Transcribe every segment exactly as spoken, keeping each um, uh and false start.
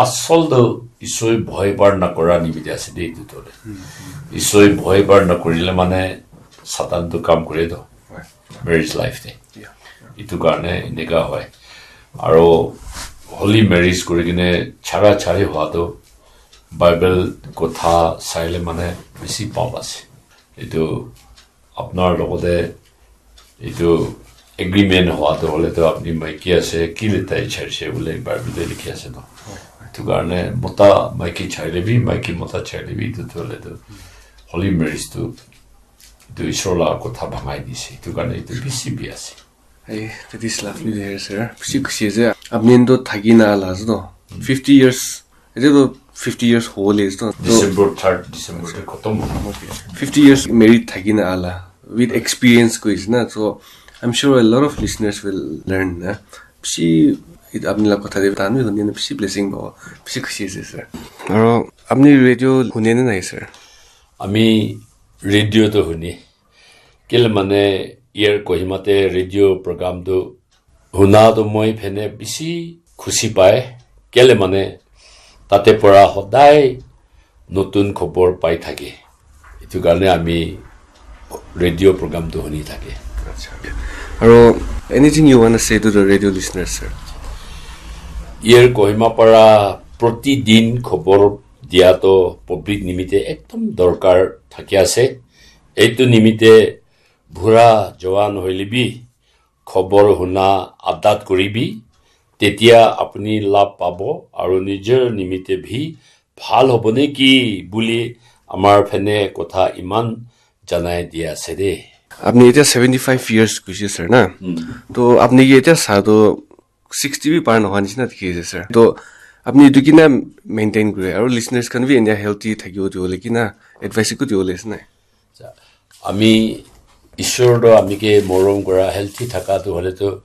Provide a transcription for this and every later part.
Asol tu Isoi bhoi bar nakora nimite ase de etu tu. Isoi bhoi bar nakorile mane Satan tu kam kore to. Marriage life te. Etu karne eneka hoi. Aro holy marriage kuri kene chara chari hua tu Bible kotha saile mane bisi pap ase. Etu apnar logote etu agreement hua tu hole tu apni maiki ase, kile tai charise bole Bible te likhi ase to. Etu karne mota maiki chaile bi, maiki mota chaile bi, etu tu hole tu holy marriage tu, etu Isor la kotha bhangai dise. Etu karne etu bisi bi ase. Hey, that is lovely to hear, sir. Bisi khushi ase. Apni to thaki na ala ase to. Fifty years. Etu to fifty years hole ase to. December third, December te khatam hobo. Fifty years married thaki na ala. With experience koise na. So, I'm sure a lot of listeners will learn na. Bisi, it apni la kotha de tan bi huni na bisi blessing pabo. Bisi khushi ase, sir. Aro apni radio hune na nai, sir? Ami radio to huni. Kile mane, Air Kohima te radio program tu huna tu moi phene bisi khushi pai. Kile mane, tate pora hodai notun khobor pai thake. Etu karne ami radio program tu huni thake. Aro, anything you wanna say to the radio listeners, sir? Air Kohima para protidin khobor dia to public nimite ekdom dorkar thaki ase. Etu nimite bura jowan hoile bi khobor huna adat kuribi, tetia apuni labh pabo aru nijor nimite bhi bhal hobo neki buli amar phene kotha iman janai dia ase de. Apni etia seventy five years kuise, sir, na? To apni ke etia sa to sixty bi par nohoi nishina dikhi ase, sir. To apni etu kina maintain kure aru listeners khan bi endia healthy thakibo diwole kina advice ekku diwole ase nai? Ami Ishwar to ami ke morom kura, healthy thaka tu hole tu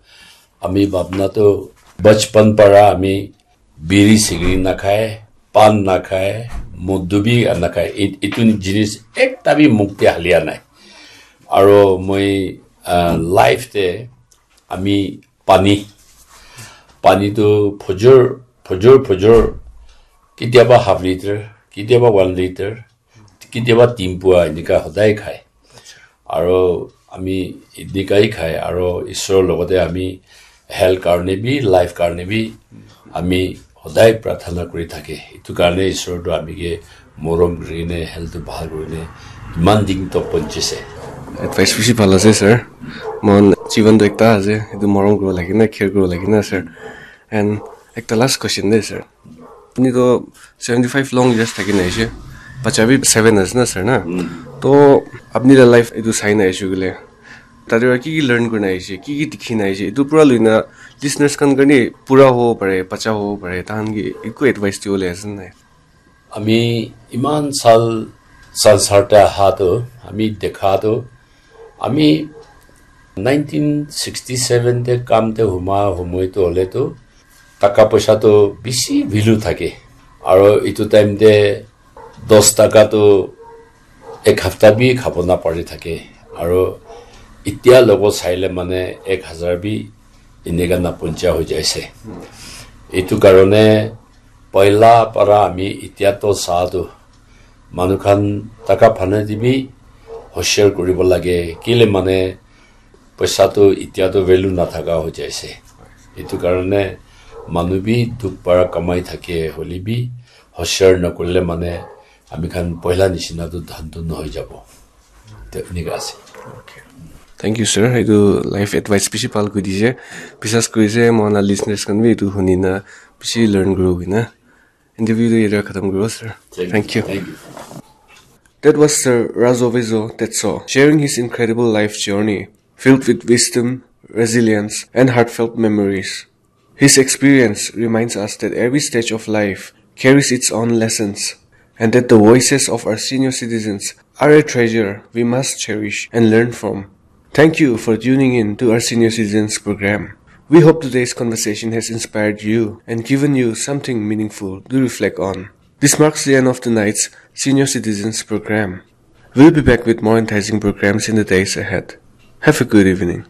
ami bhabna tu bachpan para ami biri sigiri nakhai, pan nakhai, modu bi nakhai. Etu jinis ekta bi mukh te halia nai. Aro moi life te ami pani, pani tu phojor phojor phojor, kitiaba half liter, kitiaba one liter, kitiaba tin pua enika hodai khai. Aro ami enika hi khai aro Ishwar logote ami health karne bi, life karne bi ami hodai prarthana kuri thake. Etu karne Ishwar tu ami ke morom kuri kene health tu bhal kuri kene iman din tok ponchise. Advice bishi bhal ase, sir. Mon jivan tu ekta ase, etu morom kuri lagi na, care kuri lagi na, sir. And ekta last question de, sir. Apni to seventy five long years thaki na aise, bacha bi seven ase na, sir, na? To apni la life etu sai na aise koile, tate para ki ki learn kuri na aise, ki ki dikhi na aise, etu pura lui na listeners khan karne pura hobo pare, bacha hobo pare, tahan ke ekku advice dibole ase nai? Ami iman sal, sal sarte aha tu, ami dekha tu, ami nineteen sixty seven te kam te huma humoi tu hole tu, taka poisa tu bishi value thake. Aro etu time te dos taka tu ek hafta bi khabo na pari thake. Aro etia logo saile mane ek hazar bi enika na poncha hoi jaise. Etu karone poila para ami etia to sa tu manu khan taka phane te bi hoshiar kuribo lage. Kile mane poisa tu etia tu value na thaka hoi jaise. Etu karone manu bi dukh para kamai thake hole bi hoshiar na kurile mane ami khan poila nishina tu dhan tu nohoi jabo. Te enika ase. Thank you, sir. Etu life advice bishi bhal koi dise. Biswas kuri se, mohan la listeners khan bi etu huni na bishi learn kuribo koi na. Interview tu yate khatam kuribo, sir. Thank you. Thank you. That was Sir Razovizo Tetso sharing his incredible life journey, filled with wisdom, resilience, and heartfelt memories. His experience reminds us that every stage of life carries its own lessons, and that the voices of our senior citizens are a treasure we must cherish and learn from. Thank you for tuning in to our senior citizens program. We hope today's conversation has inspired you and given you something meaningful to reflect on. This marks the end of tonight's senior citizens program. We'll be back with more enticing programs in the days ahead. Have a good evening.